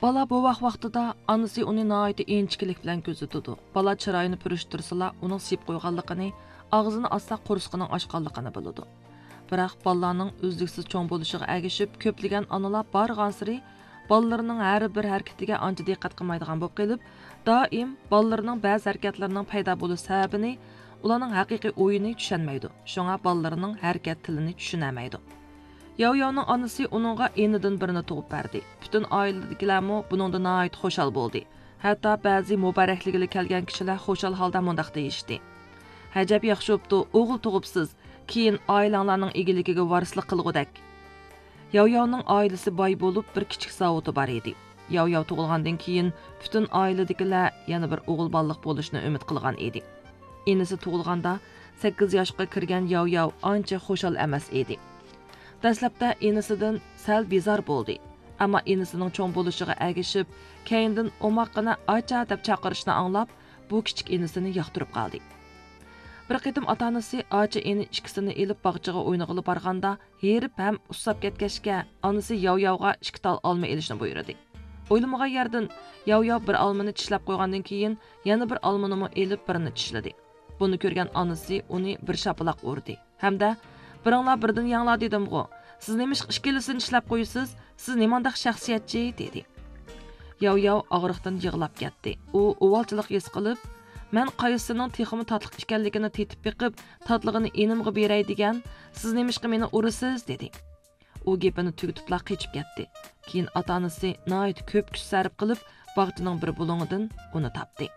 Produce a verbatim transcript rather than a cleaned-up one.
بالا بوۋاق ۋاقتىدا ئانىسى ئۇنى ناھايىتى ئىنچىكىلىك بىلەن كۆزىتىدۇ. بالا چىرايىنى پۈرۈشتۈرسىلا، ئۇنىڭ سىيىپ قويغانلىقىنى، ئاغزىنى ئاچسا قورسىقىنىڭ ئاچقانلىقىنى بىلىدۇ. بىراق بالىلارنىڭ ئۈزلۈكسىز چوڭ بولۇشىغا ئەگىشىپ، كۆپلىگەن ئانىلار بارغانسېرى بالىلىرىنىڭ ھەر بىر ھەرىكىتىگە ئانچە دىققەت قىلمايدىغان بولۇپ قېلىپ، دائىم بالىلىرىنىڭ بەزى ھەرىكەتلىرىنىڭ پەيدا بولۇش سەۋەبىنى، ئۇلارنىڭ ھەقىقىي ئويىنى چۈشەنمەيدۇ. شۇڭا بالىلىرىنىڭ ھەرىكەت تىلىنى چۈشىنەلمەيدۇ. ياۋياۋنىڭ ئانىسى ئۇنىڭغا ئىنىدىن بىرنى تۇغۇپ بەردى. پۈتۈن ئائىلىدىكىلەرمۇ بۇنىڭدىن ناھايىتى خۇشال بولدى. ھەتتا بەزى مۇبارەكلىگىلى كەلگەن كىشىلەر خۇشال ھالدا مۇنداق دېيىشتى: «ئەجەب ياخشى بوپتۇ، ئوغۇل تۇغۇپسىز. كېيىن ئائىلەڭلارنىڭ ئىگىلىكىگە ۋارىسلىق قىلغۇدەك.» ياۋياۋنىڭ ئائىلىسى باي بولۇپ، بىر كىچىك زاۋۇتى بار ئىدى. ياۋياۋ تۇغۇلغاندىن كېيىن، پۈتۈن ئائىلىدىكىلەر يەنە بىر ئوغۇل بالىلىق بولۇشنى ئۈمىد قىلغان ئىدى. ئىنىسى تۇغۇلغاندا، سەككىز ياشقا كىرگەن ياۋياۋ ئانچە خۇشال ئەمەس ئىدى. دەسلەپتە ئىنىسىدىن سەل بىزار بولدى، ئەمما ئىنىسىنىڭ چوڭ بولۇشىغا ئەگىشىپ، كەينىدىن ئوماققىنە «ئاچا» دەپ چاقىرىشنى ئاڭلاپ، بۇ كىچىك ئىنىسىنى ياقتۇرۇپ قالدى. بىر قېتىم ئاتا-ئانىسى ئاچا ئىنى ئىككىسىنى ئېلىپ باغچىغا ئوينىغىلى بارغاندا، ھېرىپ ھەم ئۇسساپ كەتكەچكە، ئانىسى ياۋياۋغا ئىككى تال ئالما ئېلىشنى بۇيرۇدى. ئويلىمىغان يەردىن، ياۋياۋ بىر ئالمىنى چىشلەپ قويغاندىن كېيىن، يەنە بىر ئالمىنىمۇ ئېلىپ، بىرىنى چىشلىدى. بۇنى كۆرگەن ئانىسى ئۇنى بىر شاپىلاق ئۇردى ھەمدە: «بىرىڭلار بىردىن يەڭلار دېدىمغۇ! سىز نېمىشقا ئىككىلىسىنى چىشلەپ قويىسىز؟ سىز نېمانداق شەخسىيەتچى؟» دېدى. ياۋياۋ ئاغرىقتىن يىغلاپ كەتتى. ئۇ ئۇۋالچىلىق ھېس قىلىپ: «مەن قايسىسىنىڭ تېخىمۇ تاتلىق ئىكەنلىكىنى تېتىپ بېقىپ، تاتلىقىنى ئىنىمغا بېرەي دېگەن، سىز نېمىشقا مېنى ئۇرىسىز؟» دېدى. ئۇ گېپىنى تۈگىتىپلا قېچىپ كەتتى. كېيىن ئاتا-ئانىسى ناھايىتى كۆپ كۈچ سەرپ قىلىپ، باغچىنىڭ بىر بۇلۇڭىدىن ئۇنى تاپتى.